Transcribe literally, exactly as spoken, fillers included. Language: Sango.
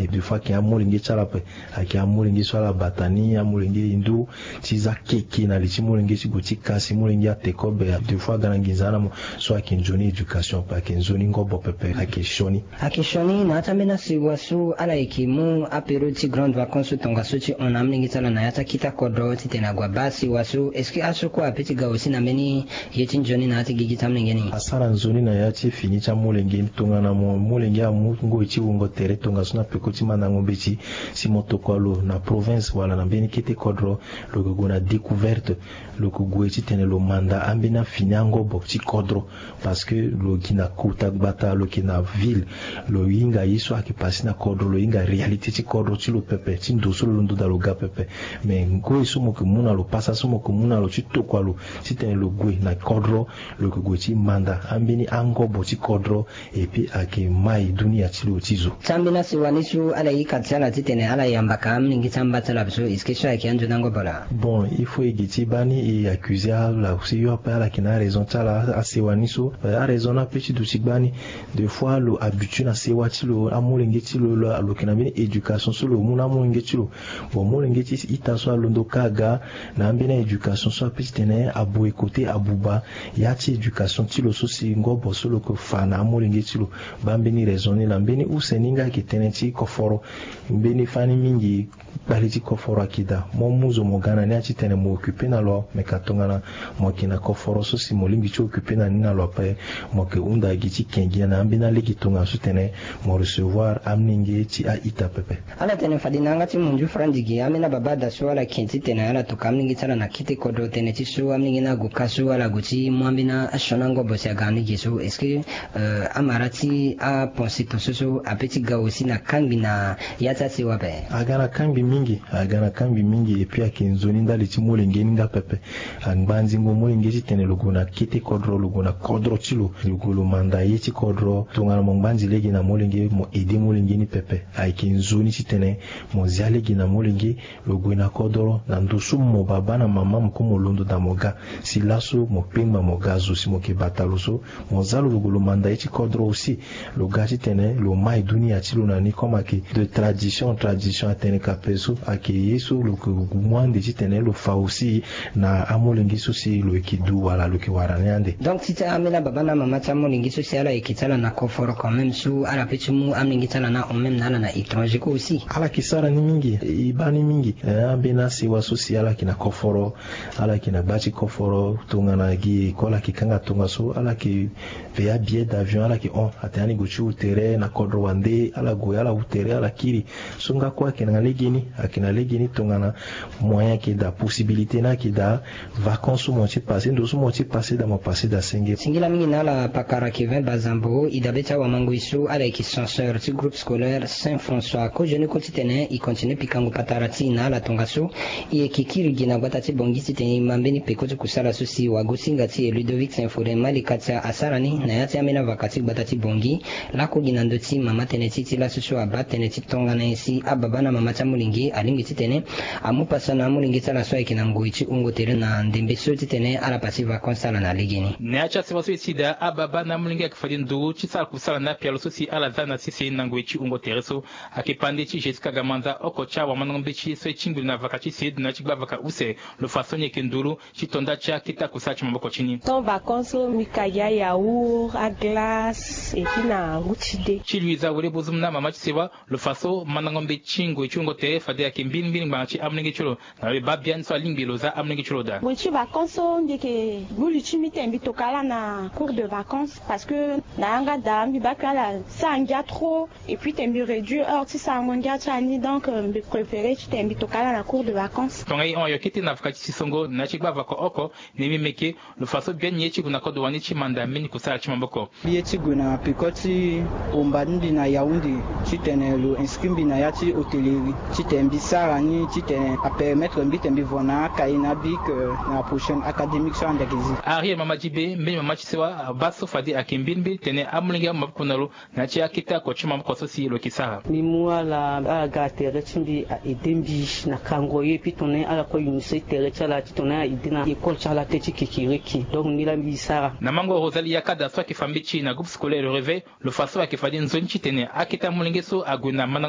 Et des fois ayeke amolenge ti ala ape, ayeke amolenge so ala bata ni, amolenge hindu, ti za keke na li ti molenge ti gue ti kasi molenge ate kobe. Des fois aga na nginza na mo so ayeke nzoni éducation ape, ayeke nzoni ngobo pepe, ayeke sioni. Ayeke sioni na ya ti ambeni asewa so ala yeke mu apériode ti grande vacance so tongaso ti hon na amolenge ti ala na ya ti akita kodro titene ague abaa asewa so. Est-ce que aso kue ape ti ga aussi na mbeni ye ti nzoni na ya ti gigi ti amolenge ni? Asara nzoni na ya ti fini ti amolenge ni tongana mo molenge amu ngoi ti wungo tere tongaso na peko ti mandango mbeti, si mo tokua lo na province wala na mbeni kete kodro, lo yeke gue na découverte, lo yeke gue titene lo manda ambeni afini angobo ti kodro. Parce que lo gi na kota gbata, lo yeke na ville, lo hinga ye so ayeke pase na kodro, lo hinga réalité ti kodro ti lo pepe, ti ndo so lo londo daa lo ga pepe. Mais ngoi so mo yeke mu na lo, pasa so mo yeke mu na lo ti tokua lo titene lo gue na kodro, lo yeke gue ti manda ambeni angobo ti kodro. Et puis ayeke mai dunia ti lo ti zo. Ti ambeni asewa ni so ala hika ti ala titene ala yamba ka amolenge ti amba ti ala so, est-ce que so ayeke anzoni angobo laa? Bon, il faut e gi ti baa ni e accuse ala aussi yo ape, ala yeke na araison ti ala. Asewa ni so, eh, araison ni ape ti duti gbani. Des fois lo habitue na sewa ti lo, amolenge ti lo, lo lo yeke na mbeni éducation so lo mu na amolenge ti lo. Bon, molenge ti ita so alondo kâ aga na ambeni a-éducation so ape titene aboycotter, abuba ya ti éducation ti lo so si ngobo so lo yeke fa na amolenge ti lo. Baa mbeni raison ni laa. Mbeni use ni nga ayeke tënë ti koforo. Mbeni fani mingi kpale ti koforo ayeke daa. Mo mu zo mo ga na ni atitene mo occuper na lo, me ka tongana mo yeke na koforo so si mo lingbi ti occuper na ni na lo ape, mo yeke hunda gi ti ke gi na ambeni alege tongana so titene mo recevoir amolenge ti a-ita pepe. Ala tene fade na yanga ti monzu franzi gi ambeni ababa daa so ala yeke titene ala toka amolenge ti ala na kete kodro tënë ti so amolenge ni ague kâ so ala gue ti mu ambeni asioni angobo si aga na ni gi so. Est-ce que, euh, amara ti apense to so so ape ti ga aussi na kangbi na ya ti asewa ape? Aga na kangbi mingi, aga na kangbi mingi. Et puis ayeke nzoni ndali ti molenge ni nga pepe. Angba nzingo molenge titene lo gue na kete kodro, lo gue na kodro ti lo, lo gue lo manda ye ti kodro. Tongana mo ngbanzi lege na molenge, mo aider molenge ni pepe. Ayeke nzoni titene mo zia lege na molenge, lo gue na kodro na ndo so mo baba na mama mo kue mo londo daa mo ga. Si laso mo kpengba mo ga zo si mo yeke bata lo so, mo za lo, lo gue lo manda ye ti kodro aussi. Lo ga titene lo mai dunia ti lo na ni comme ayeke de tradition en tradition, atene ka pe so ayeke ye so lo yeke mu ande titene lo fa aussi na amolenge so si lo yeke du wala lo yeke wara ni ande. Donc ti ti ambeni ababa na amama ti amolenge so si ala yeke ti ala na koforo quand même so ala pe ti mu amolenge ti ala na hon même na ala na étranger kue aussi. Ala yeke sara ni mingi, e baa ni mingi. Eh, ambeni asewa so si ala yeke na koforo, ala yeke na gba ti koforo, tongana gi école ayeke kanga tongaso, ala yeke payer abillet d'avion, ala yeke hon. Atene ani gue ti hu tere na kodro wande, ala gue, ala hu tere, ala kiri. So nga kue ayeke na legeni, ayeke na legeni tongana moyen ayeke daa, possibilité ni ayeke daa, vacances so mo ti passé, ndo so mo ti passé daa, mo passé daa senge. Singila mingi na ala pakara Kevin Bazambo, e dabe ti awamangoi so ala yeke censeur ti groupe scolaire Saint François. Kozoni kue titene e continue pikango patara ti e na ala tongaso. E yeke kiri gi na gbata ti Bangui titene e ma mbeni peko ti kusala so si wagosinga ti e Ludovic Saint Faudin Malika ti asara ni na ya ti ambeni avaka ti gbata ti Bangui. Lakue gi na ndö ti mama tënë ti e ti laso so abaa tënë ti tongana nyen si ababa na mama ti amolenge alingbi titene amu pasa na amolenge ti ala so ayeke na ngoi ti hungo tere na ndembe so titene ala pasi vacances ti ala na legeni. Na ya ti asewa so e si daa, ababa na amolenge ayeke fade nduru ti sara kusala na apialo so si ala za na sese na ngoi ti hungo tere so. Ayeke pande ti Jessica Gamanza, oko ti awamandongo mbeti so e tingbi lo na vaka ti seedo na ya ti gba vaka use. Lo fa so ni yeke nduru ti to nda ti akete akusala ti maboko ti ni. Temps vacances so mbi ka gi ayaourt, aglace et puis na ngu ti de. Ti Luisa Wele Bozum na mama ti sewa, lo fa so mandango mbeti ti ngoi ti hungo tere fade ayeke mbirimbiri ngbanga ti amolenge ti lo. Na lo e baa biani so alingbi lo za amolenge ti lo daa. Ngoi ti vacances so mbi yeke gbu li ti mbi titene mbi tokua ala na cours de vacances parce que na yanga daa mbi baa kue ala sara ngia trop. Et puis titene mbi réduire heure ti sarango ngia ti ala ni, donc, euh, mbi préféré titene mbi tokua ala na cours de vacances. Tongaso e hon ayo kete na vaka ti sisongo na ya ti gba vaka oko, na e mbi meke lo fa so biani ye ti gue na kodro wani ti manda mbeni kusala ti maboko. Mbi ye ti gue na peko ti homba ni mbi na Yaoundé titene lo inscrit mbi na ya ti hôtellerie titene mbi sara ni titene apermettre mbi titene mbi vo na akaye na abic, euh, na prochaine académique so ande ayeke zi. Ariel Mama Dibe, mbeni mama ti sewa, abaa so fade ayeke mbirimbiri tene amolenge amu maboko na lo na ya ti akete oko ti maboko so si lo yeke sara. Mbi mu ala, ala ga na tere ti mbi a aidé mbi na kango ye, puis tongana ala kue UNICEF tere ti ala ti tongana ala aidé na école ti ala tënë ti kekereke. Donc ni laa mbi sara. Na mango Rosalie Yakada so ayeke fa mbeti na groupe scolaire Le Réveil, lo fa so ayeke fade nzoni titene akete amolenge so ague na mandango